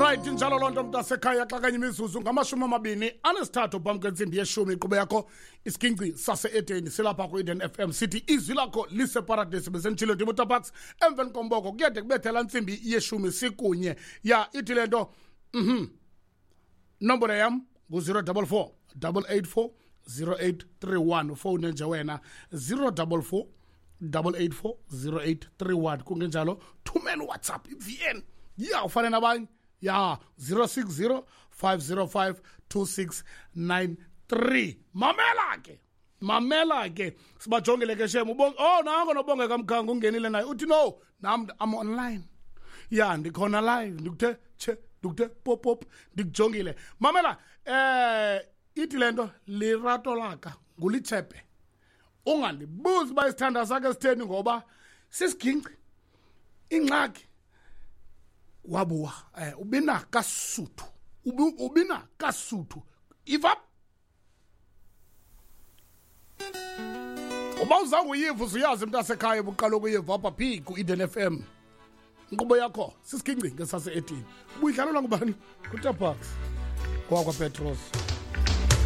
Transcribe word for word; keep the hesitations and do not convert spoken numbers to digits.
Right, injalo loo nto, mntasekhaya. Xa kanye imizuzu ngamashumi amabini anesithathu phambi kwentsimbi yeshumi, inkqubo yakho Isiginci Sase-Edeni, silapha ku-Eden F M. Sithi izwi lakho liseparadesi. Besenditshilo, ndim uTabax. Emveni komboko kuyade kubethela ntsimbi yeshumi, sikunye. Ya, ithi le nto, mhm nombolo yam ngu-zero double four double eight four zero eight three one. Ufowune nje wena, zero double four double eight four zero eight three one. Kungenjalo thumela uWhatsApp, i-V N ya, ufane nabanye ya, zero six zero five zero five two six nine three. Mamela ke, mamela ke, sibajongile ke shem. Ubong, oh, nango noBongeka Mkhango ungenile naye, uthi no, nam I'm online ya, ndikhona live, ndikuthe che, ndikuthe pop pop, ndikujongile. Mamela, eh ithi lento lerato laka ngulitshepe. Ungandibuzi uba isithanda sakhe sitheni, ngoba sisiginci. Ingxaki wabuwa eh ubina kasuthu, ubina kasuthu iva. Uba uzange uyiva, uzuyazi mntasekhaya, ubuqala ukuyiva apha phi? Ku-Eden F M. Inkqubo yakho sisiginci ngesase-edini. Ubuyidlalelwa ngubani? NguTabax ngowakwaPetros.